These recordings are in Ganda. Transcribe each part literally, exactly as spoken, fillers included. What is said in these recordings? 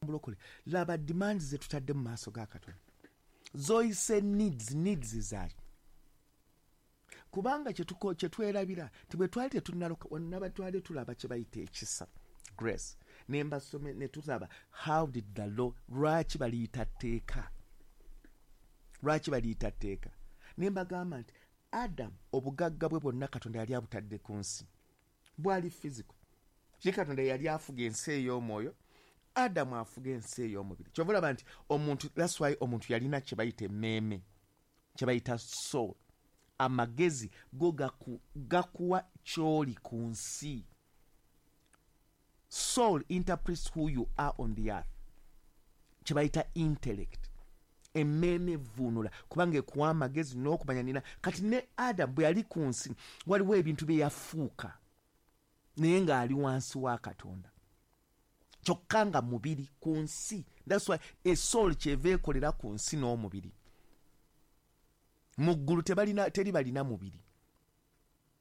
Mulokole, laba demands ze tutadde mu maaso ga Katonda, zoyise needs. Needs zaaki? Kubanga kyetuko kyetwerabira nti bwe twali tetunnaloka wonna, twali tulaba kye bayita ekisa, grace. Ne mbasome ne tulaba how did the law, lwaki baliyita tteeka, lwaki baliyita tteeka. Ne mbagamba nti Adamu obugagga bwe bwonna Katonda yali abutadde ku nsi, bwali physical. Ki Katonda yali afuga ensi ey'omwoyo, Adamu afuga ensi ey'omubiri. Kyova olaba nti omuntu, that's why omuntu yalina kye bayita emmeeme, kye bayita soul. Amagezi go gaku, gakuwa kyoli ku nsi. Soul interprets who you are on the earth, kye bayita intellect. Emmeeme evvuunula kubanga ekuwa amagezi n'okumanya nina. Kati ne Adamu bwe yali ku nsi, waliwo ebintu bye yafuuka naye ng'ali wansi wa Katonda, kyokka nga mubiri ku nsi. That's why e soul kyeva ekolera ku nsi n'omubiri. Mu ggulu tebalina, teri balina mubiri,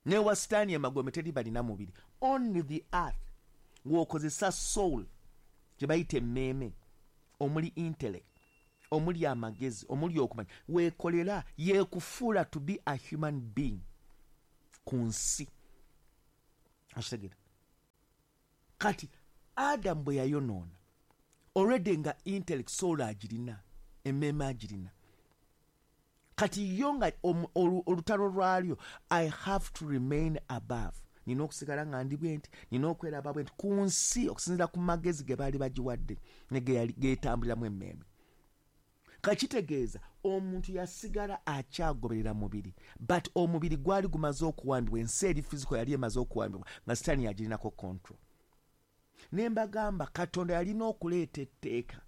newa Sitaani emagombe teri balina mubiri. Only the earth ng'okozesa soul, gye bayita emmeeme, omuli intellect, omuli amagezi, omuli okumanya, weekolera, yeekufuula to be a human being ku nsi. Okitegeera? Kati Adamu bwe yayonoona, already nga intellect, soul agirina, emmeeme agirina. Kati yo nga omu- olu- olutalo lwalyo, I have to remain above, nina okusigala nga ndi bwe nti, nina okweraba bwe nti ku nsi, okusinziira ku magezi ge baali bagiwadde ne ge yali- getambuliramu emmeeme. Kakitegeeza omuntu yasigala akyagoberera mubiri, but omubiri gwali gumaze okuwambibwa. Ensi eri physical yali emaze okuwambibwa nga Sitaani yagirinako control. Ne mbagamba Katonda yalina okuleeta etteeka,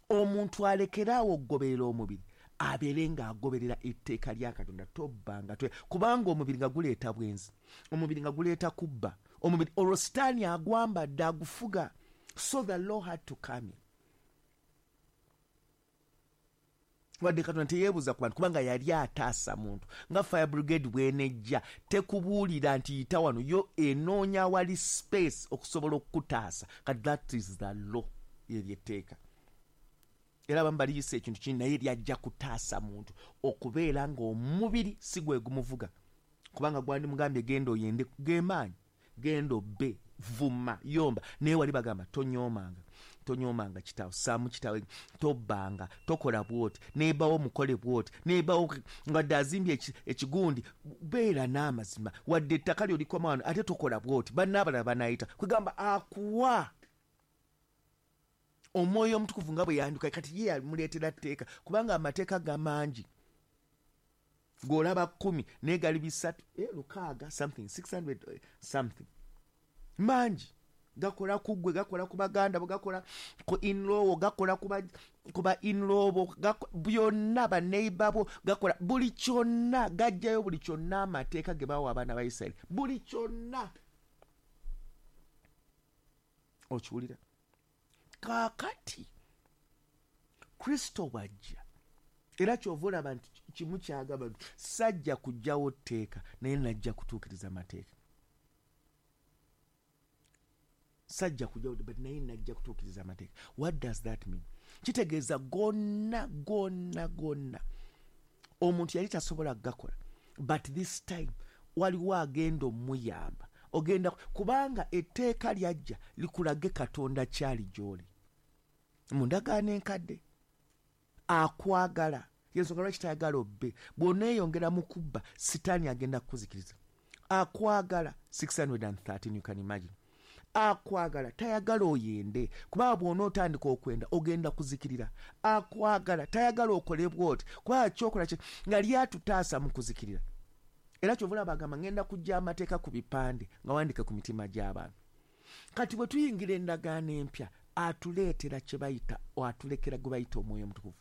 omuntu alekeraawo okugoberera omubiri, abeere ng'agoberera etteeka lya Katonda. Tobbanga, twe kubanga omubiri nga guleeta bwenzi, omubiri nga guleeta kubba, omubiri olwo Sitaani agwambadde, agufuga. So the law had to come in. Wadde Katonda teyeebuuza ku bantu, kubanga yali ataasa muntu. Nga fire brigade bwenejja, tekubuulira nti yita wano, yo enoonya awali space okusobola okukutaasa. Kati that is the law, eryo etteeka. Era abamu baliyisa ekintu kini, naye lyajja kutaasa muntu okubeera ng'omubiri si gwe gumuvuga, kubanga gwandimugambye genda oyende, gemaanyi, genda obbe, vuma, yomba. Naye wali bagamba tonyoomanga, tonyoomanga kitaawo, saamu kitaawe, tobbanga, tokola bwoti, nebawo mukole bwoti, nebawo wadde azimbye ekigundi, beera n'amazima, wadde ettaka lyo likoma wano, ate tokola bwoti, bannaabalala banayita. Kwegamba akuwa Omwoyo Omutukuvu nga bwe yanduka. Kati ye yamuleetera tteeka, kubanga amateeka gamangi g'olaba kkumi, naye gali bisatu, eh, lukaaga something, six hundred eh, something, mangi. Gakola ku ggwe, gakola ku baganda bo, gakola ku in-law, gakola ku ba in-law bo, byonna, baneighbor bo, gakola buli kyonna, gajjayo buli kyonna. Amateeka ge bawa abaana ba Isirayiri, buli kyonna okiwulira. Kaakati Kristo bwajja, era kyova olaba nti kimu kyagamba nti sajja kujjawo tteeka, naye najja kutuukiriza mateeka. Sajja kujjawo, but naye najja kutuukiriza amateeka. What does that mean? Kitegeeza gonna gonna gonna omuntu yali tasobola kugakola, but this time waliwo agenda omuyamba. Ogenda kubanga etteeka lyajja likulage Katonda kyali gy'oli mu ndagaano enkadde. Akwagala, yensonga lwaki tayagala obbe. Bw'oneeyongera mu kubba, Sitaani agenda kukuzikiriza. Akwagala six hundred thirteen, you can imagine. Akwagala, tayagala oyende, kubanga bw'ona otandika okwenda ogenda kuzikirira. Akwagala, tayagala okole bwoti, kubanga kyokola nga lyatutaasa mu kuzikirira. Era kyova olaba agamba ngenda kujja amateeka ku bipande nga wandike ku mitima gy'abantu. Kati bwe tuyingira endagaano empya, atuleetera kye bayita, atulekera gwe bayita Omwoyo Omutukuvu,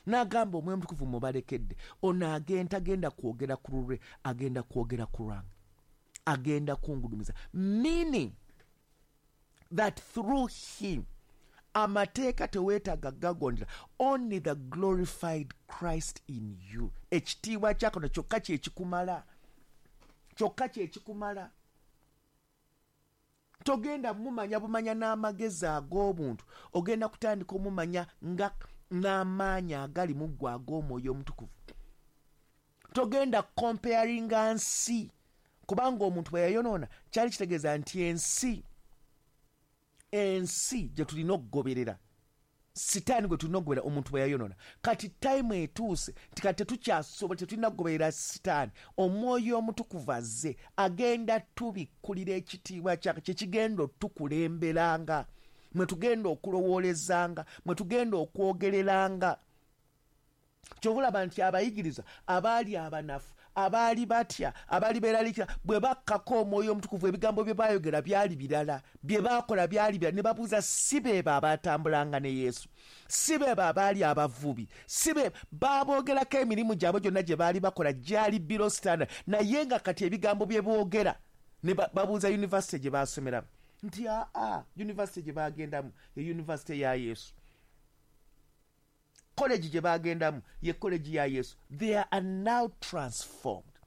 n'agamba Omwoyo Omutukuvu mubalekedde. Ono agenda agenda kwogera ku lulwe, agenda kwogera ku lwange, agenda kungulumiza, meaning that through him amateeka teweetaaga gagondera, only the glorified Christ in you. Ekitiibwa kya Katonda kyokka kyekikumala, kyokka kyekikumala. Togenda mumanya bumanya n'amagezi ag'obuntu, ogenda kutandika omumanya nga n'amaanyi agali mu ggwe ag'omwoyo omutukuvu. Togenda comparinga nsi, kubanga omuntu bwe yayonoona kyali kitegeeza nti ensi ensi gye tulina okugoberera, sitaani gwe tulina okugoberera omuntu bwe yayonoona. Kati time etuuse nti kati tetukyasobola, tetulina kugoberera sitaani. Omwoyo omutukuvu azze, agenda tubikkulira ekitiibwa kyake kyekigenda otukulemberanga, mwe tugenda okulowoolezanga, mwe tugenda okwogereranga. Kyova olaba nti abayigiriza abaali abanafu, abaali batya, abaali beeraliikira, bwe bakkako omwoyo omutukuvu ebigambo bye baayogera byali birala, bye baakola byali birala. Ne babuuza, si beebo abaatambulanga ne Yesu? Si beebo abaali abavubi? Si be baaboogerako emirimu gyabwe gyonna gye baali bakola gyali below standard, naye nga kati ebigambo bye boogera ne babuuza yunivasite gye baasomeramu nti aa, yunivasite gye baagendamu ye yunivasite ya Yesu, college gye bagendamu ye college ya Yesu. They are now transformed,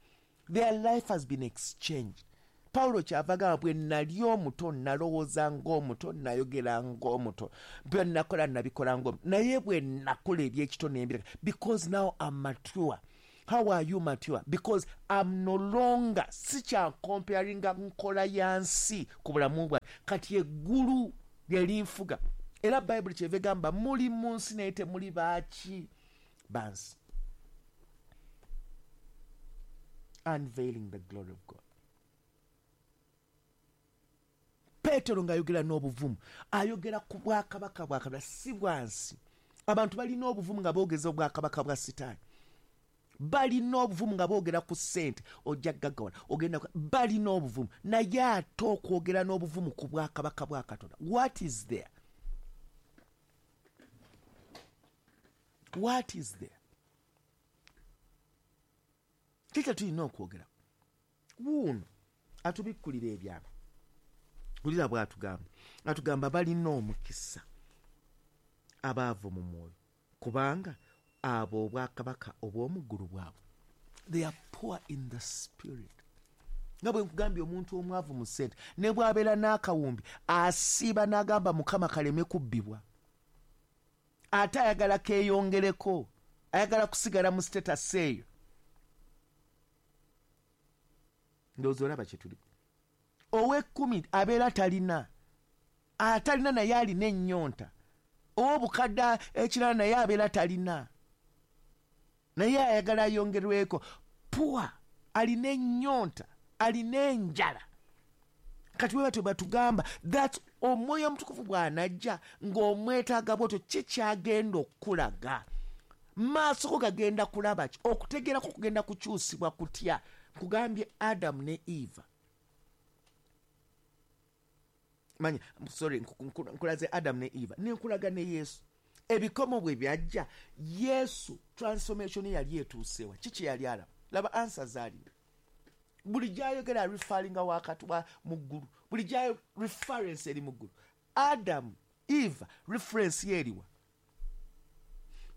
their life has been exchanged. Pawulo kyava agamba, bwe nali omuto nalowooza ng'omuto, nayogera ng'omuto, bwe nakola nabikola ng'omuto, naye bwe nakola ebyekito nembireka, because now I'm mature. How are you mature? Because I'm no longer, sikyakomparinga nkola ya nsi ku bulamu bwange, kati eggulu lye linfuga. Era Bayibuli kyeva egamba muli mu nsi naye temuli baaki bansi. Unveiling the glory of God. Peetero ng'ayogera n'obuvumu, ayogera ku bwakabaka bwa Katonda, si bwa nsi. Abantu balina obuvumu nga boogeza obwakabaka bwa Sitaani, balina obuvumu nga boogera ku ssente, ojja gaggawala, ogenda, balina obuvumu, naye ate okwogera n'obuvumu ku bwakabaka bwa Katonda, what is there? What is there? Kiki tulina okwogera? Wuuno atubikkulira ebyama. Wulira bw'atugamba, atugamba balina omukisa abaavu mu mwoyo, kubanga abo obwakabaka obw'omu ggulu bwabwe. They are poor in the spirit. Nga bwe nkugambye, omuntu omwavu mu ssente ne bw'abeera n'akawumbi asiiba n'agamba Mukama kaleme kubbibwa, ate ayagala keeyongereko, ayagala kusigala mu status eyo. Ndowooza olaba kye tuli. Ow'ekkumi abeera talina, atalina naye alina ennyonta. Ow'obukadde ekirala naye abeera talina, naye ayagala ayongerweko. Poor alina ennyonta, alina enjala. Kati bwe batyo batugamba that omwoyo omutukuvu bw'anajja ng'omwetaaga bw'otyo, ki kyagenda okukulaga? Maaso go gagenda kulaba ki? Okutegeerako kugenda kukyusibwa kutya? Nkugambye Adamu ne Eva. Manya, sorry, nkulaze Adamu ne Eva, ne nkulaga ne Yesu. Ebikomo bwe byajja, Yesu transformation yali etuusewa. Kiki yali alaba? Laba answer zaalina. Buli gy'ayogera referringa wakati wa mu ggulu, buli gy'ayo reference eri mu ggulu. Adamu, Eva, reference ye eriwa?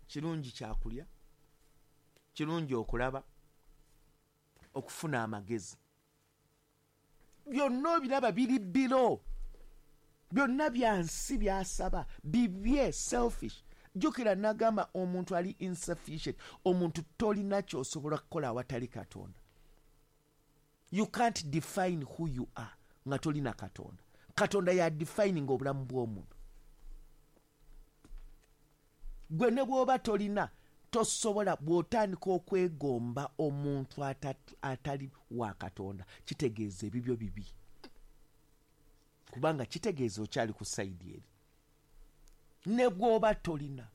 Kirungi kyakulya, kirungi okulaba, okufuna amagezi, byonna obiraba biri biro, byonna byansi byasaba bibye, selfish. Jjukira nagamba omuntu ali insufficient, omuntu tolina ky'osobola kukola awatali Katonda. You can't define who you are nga tolina Katonda. Katonda ya defining obulamu bw'omuntu. Gwe ne bw'oba tolina tosobola, bw'otandika okwegomba omuntu atali wa Katonda, kitegeeza ebibyo bibi, kubanga kitegeeza okyali ku sayidi eri. Ne bw'oba tolina,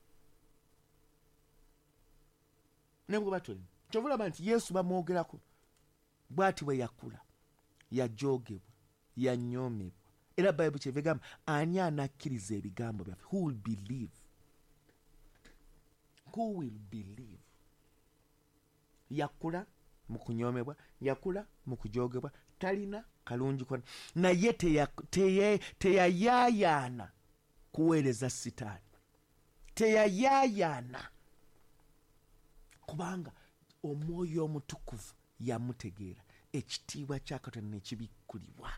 ne bw'oba tolina. Kyova olaba nti Yesu bamwogerako bw'ati bwe yakula, yajoogebwa, yanyoomebwa. Era Bayibuli kyeva egamba, ani anakkiriza ebigambo byaffe? Who will believe? Who will believe? Yakula mu kunyoomebwa, yakula mu kujoogebwa, talina kalungi konna, naye teyayaayaana kuweereza Sitaani, teyayaayaana, kubanga omwoyo omutukuvu yamutegeera, ekitiibwa kya Katonda ne kibikkulibwa.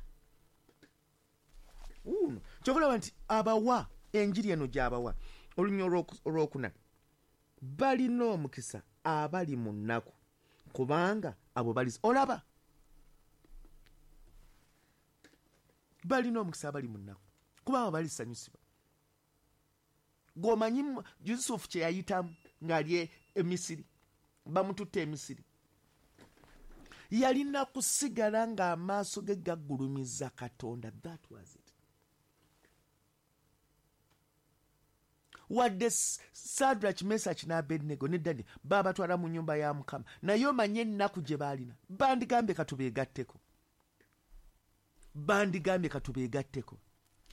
Wuuno kyova nti abawa enjiri eno gy'abawa olunya olwokuna, balina omukisa abali mu nnaku kubanga abo bali olaba balina omukisa abali mu nnaku kubanga balisanyusibwa. Gwomanyi Yusufu kye yayitamu ng'ali e Misiri, bamututte e Misiri, yalina kusigala ng'amaaso ge gagulumiza Katonda. That was it. Wadde Sadrach, Mesach ne Abednego ne Daniel babatwala mu nnyumba ya Mukama, naye omanye ennaku gye baalina, bandigambye katubeegatteko, bandigambye katubeegatteko,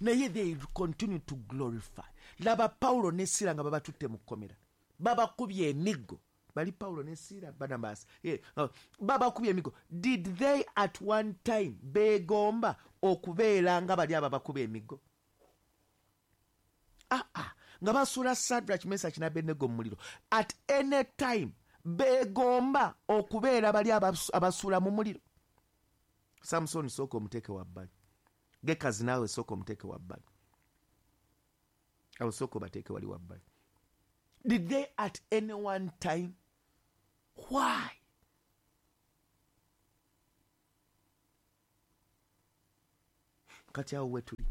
naye they continue to glorify. Laba Pawulo ne Siira nga babatutte mu kkomera, babakubye emiggo. Bali Pawulo ne Siira, Barnabas, yeah, uh, babakubye emiggo. Did they at one time beegomba okubeera nga bali ababakuba emiggo? Ah, ah. Nga basuula Sadrach, Mesach ne Abednego mu muliro, at any time beegomba okubeera bali abasuula mu muliro? Samson sooka omuteeke wabbali, Gekazi naawe sooka omuteeke wabbali, awo sooka obateeke wali wabbali. Did they at any one time? Why? Kati awo wetuli.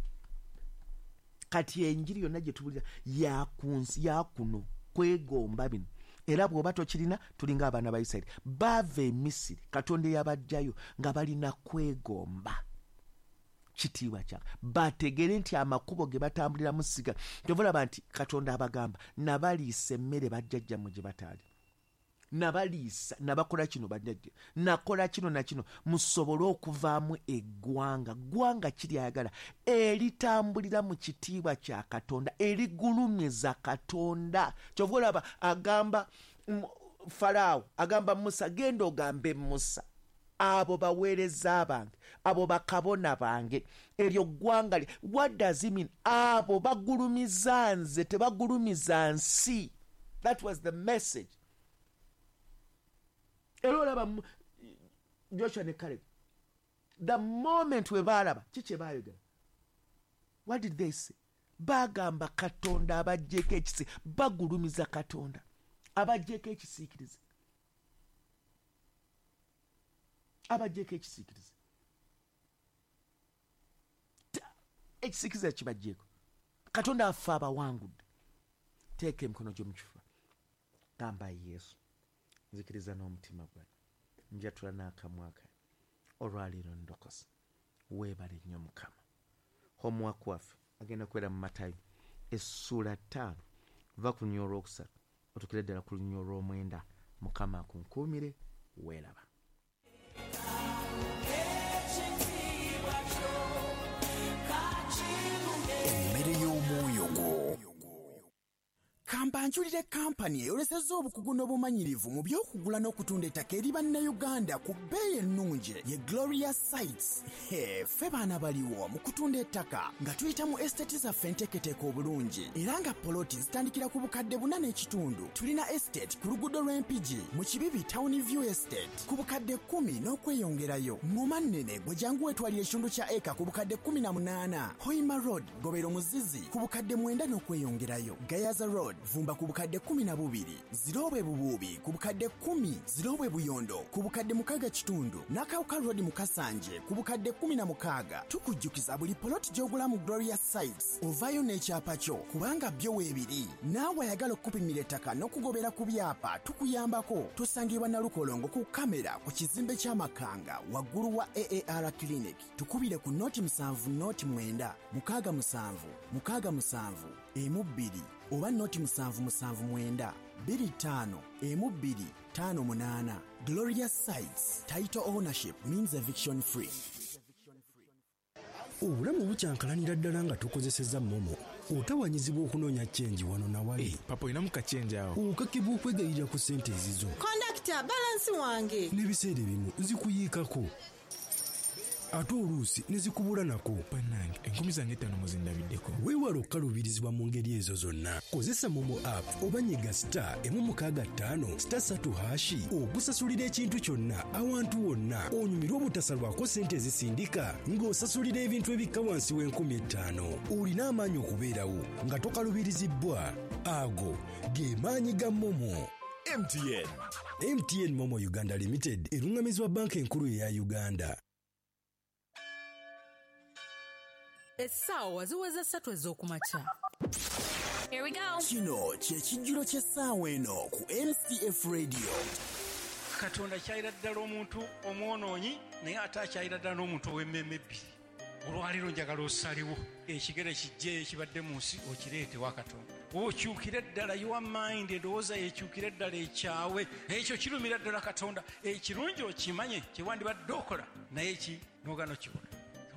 Kati enjiri yonna gye tubulira yakunsi yakuno kwegomba bino. Era bw'oba tokirina, tulinga abaana ba Isirayiri baava e Misiri, Katonda eyabajjayo nga balina kwegomba kitiibwa kya bategere nti amakubo ge batambuliramu siga. Kyova olaba nti Katonda abagamba nabaliisa emmere bajjajjammwe gye bataali, nabaliisa, nabakola kino bajjajja, nakola kino na kino, musobole okuvaamu eggwanga. Ggwanga kiryayagala eritambulira mu kitiibwa kya Katonda, erigulumiza Katonda. Kyova olaba agamba Faraawo, agamba Musa, genda ogambe Musa, abo baweereza bange, abo bakabona bange, eryo ggwanga. What does it mean? Abo bagulumiza nze, tebagulumiza nsi. That was the message. Era olaba Joshua ne Caleb, the moment we baalaba ki kye baayogera, what did they say? Bagamba Katonda abaggyeko ekisi, bagulumiza Katonda abaggyeko ekisiikirize, abaggyeko ekisiikirize, ekisiikirize kibaggyeko. Katonda affe abawangudde. Teeka emikono gyo mu kifuba, gamba Yesu, nzikiriza n'omutima gwange, njatula n'akamwa kange, olwaleero ndokose. Weebale nnyo Mukama. Homework waffe agenda kubeera mu Matayo essuula ttaano, va ku lunya olwokusatu otukire ddala ku lunya olw'omwenda. Mukama akunkuumire. Weeraba. Emmere y'omwoyo gwo. Kambanjulire kampani eyolesezza obukugu n'obumanyirivu mu by'okugula n'okutunda ettaka eri Bannayuganda ku bbeeyi ennungi ye Gloria Sites. He, ffe baana baliwo mu kutunda ettaka nga tuyita mu estate zaffe enteeketeeke obulungi, era nga poloti zitandikira ku bukadde buna n'ekitundu. Tulina estate ku luguudo lw'Empigi mu Kibibi Town View Estate ku bukadde kkumi n'okweyongerayo. Ngoma nnene gwe jangu weetwalira ekitundu kya eka ku bukadde kkumi na munaana. Hoima Road Gobero Muzizi ku bukadde mwenda n'okweyongerayo. Gayaza Road Vumba ku bukadde kkumi na bubiri, Zirobwe Bubuubi ku bukadde kkumi, Zirobwe Buyondo ku bukadde mukaaga kitundu, Nakawuka Road mu Kasanje ku bukadde kkumi na mukaaga. Tukujjukiza buli poloti gy'ogula mu Gloria Sites ovaayo n'ekyapa kyo kubanga byo weebiri. Naawe ayagala okukupimira ettaka n'okugobera ku byapa tukuyambako. Tusangibwa Nalukolongo ku kamera ku kizimbe ky'Amakanga waggulu wa A A R Clinic. Tukubire ku noti musanvu noti mwenda mukaaga musanvu mukaaga musanvu emu bbiri oba noti musanvu musanvu mwenda bbiri ttaano emu bbiri ttaano munaana. Gloria Sites, title ownership means eviction free. Obulamu bukyankalanira ddala nga tukozesezza momo. Otawanyizibwa okunoonya chenji wano na wali. Hey, papa olinamu kachenji awo. Okakibwa okwegayirira ku ssente ezizo. Kondakita, balansi wange. N'ebiseera ebimu zikuyiikako. Ate oluusi ne zikubula nako. Bannange, enkumi zange ettaano muzindabiddeko. Weewale okukaluubirizibwa mu ngeri ezo zonna. Kozesa MoMo app oba nyiga star emu mukaaga ttaano star ssatu hash okusasulira ekintu kyonna awantu wonna, onyumirwe obutasalwako ssente ezisindika ng'osasulira ebintu ebikka wansi w'enkumi ettaano. Olina amaanyi okubeerawo nga tokaluubirizibbwa. Ago ge maanyi ga MoMo. M T N. M T N MoMo Uganda Limited eruŋŋamizibwa Banka Enkulu eya Uganda. Essaawa ziweze ssatu ez'okumakya. Here we go. Kino kye kijjulo ky'essaawa eno ku M C F Radio. Katonda kyayira ddala omuntu omwonoonyi, naye ate akyayira ddala n'omuntu ow'emmeeme ebbiri. Olwaleero njagala osalewo ekigere kijje ekibadde mu nsi okireete wa Katonda, okyukire ddala your mind, endowooza yekyukire ddala ekyawe. Ekyo kirumira ddala Katonda. Ekirungi okimanye kyewandibadde okola, naye ki nogana okikola.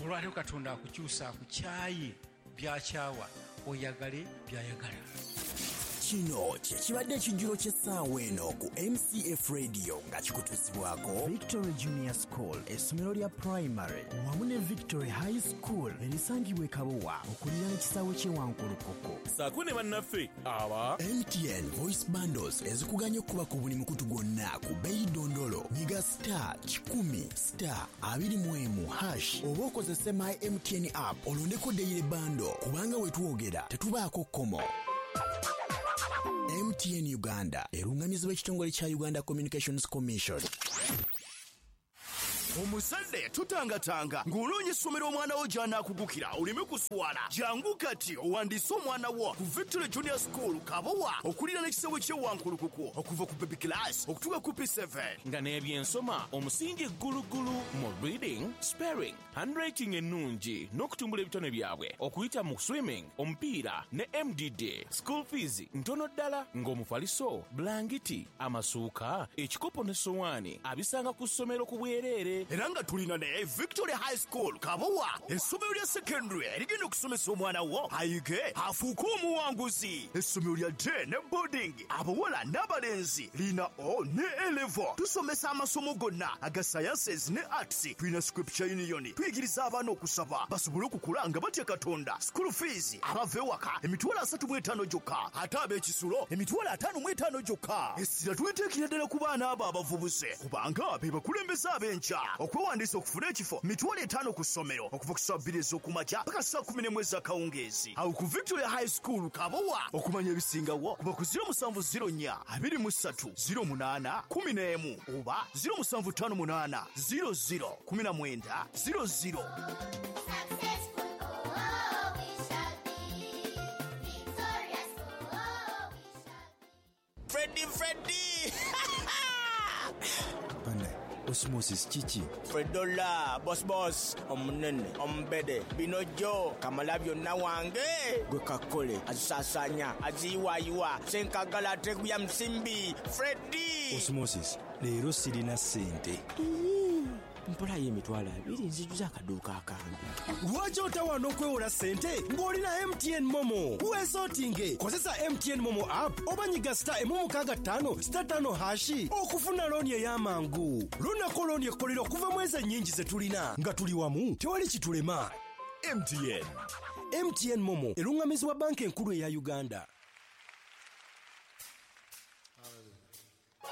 Olwaleero Katonda akukyusa, akukyaye byakyawa, oyagale byayagala. Kino kye kibadde ekijjulo ky'essaawa eno ku M C F Radio nga kikutuusibwako Victory Junior School, essomero lya primary, wamu ne Victory High School erisangibwa e Kabowa okuliraana ekisaawe ky'e Wankulukuku. Saako ne bannaffe aba M T N Voice Bundles ezikuganya okuba ku buli mukutu gwonna ku bbeeyi dondolo. Nyiga star kikumi star abiri mu emu hash oba okozese My M T N app olondeko daily bundle, kubanga we twogera tetubaako kkomo. M T N Uganda erungamizibwa ekitongole kya Uganda Communications Commission. Omuzadde tutangatanga ng'onoonya essomero omwana wo gy'anaakugukira oleme kuswala. Jangu kati owandiise omwana wo ku Victory Junior School Kabowa okuliraana ekisaawe ky'e Wankulukuku, okuva ku baby class okutuuka ku P seven. Nga n'ebyensoma omusingi ggulugulu mu reading, spelling, handwriting ennungi n'okutumbula ebitone byabwe okuyita mu swimming, omupiira ne M D D. School fees ntono ddala, ng'omufaliso, bulangiti, amasuuka, ekikopo ne sowaani abisanga ku ssomero ku bwereere. Era nga tulina ne Victory High School Kabowa, essomero lya secondary erigenda okusomesa omwana wo ayige afuuke omuwanguzi, essomero lya day ne boarding, abawala n'abalenzi, lina O ne A level. Tusomesa amasomo gonna aga sciences ne arts. Tulina Scripture Union, tuyigiriza abaana okusaba basobole okukula nga batya Katonda. School fees abava ewaka emitwalo asatu mu etaano gyokka, ate ab'ekisulo emitwalo ataano mu etaano gyokka. Essira twiteekera ddala ku baana abo abavubuse kubanga be bakulembeze ab'enkya. Okwewandiisa okufuna ekifo mitwalo etaano ku ssomero, okuva ku ssaawa bbiri ez'okumakya paka ssaawa kumi n'emu ez'akawungeezi awo ku Victoria High School Kabowa. Okumanya ebisingawo kuba ku zero musanvu zero nnya abiri mu ssatu zero munaana kumi n'emu oba zero musanvu ttaano munaana zero zero kumi na mwenda zero zero. Successful, oh, we shall be. Victorious, oh, we shall be. Freddy, Freddy! Bane, Osmosis kiki? Fredola, boss boss, omunene, omubede, bino jo, kamala byonna wange, gwe kakole, azisaasaanya, aziyiwaayiwa, senkagala ateguya musimbi, Freddy! Osmosis, leero sirina ssente. Mpolayo emitwalo abiri nzijuza akaduuka akange. Lwaki otawaana okwewola ssente ng'olina M T N MoMo? Weesootinge, kozesa M T N MoMo app oba nyiga star emu mukaaga ttaano star ttaano hash okufuna looni ey'amangu. Lunako looni ekkolera okuva mu ezo ennyingi ze tulina. Nga tuli wamu tewali kitulema. M T N. M T N MoMo eruŋŋamizibwa Banka Enkulu eya Uganda.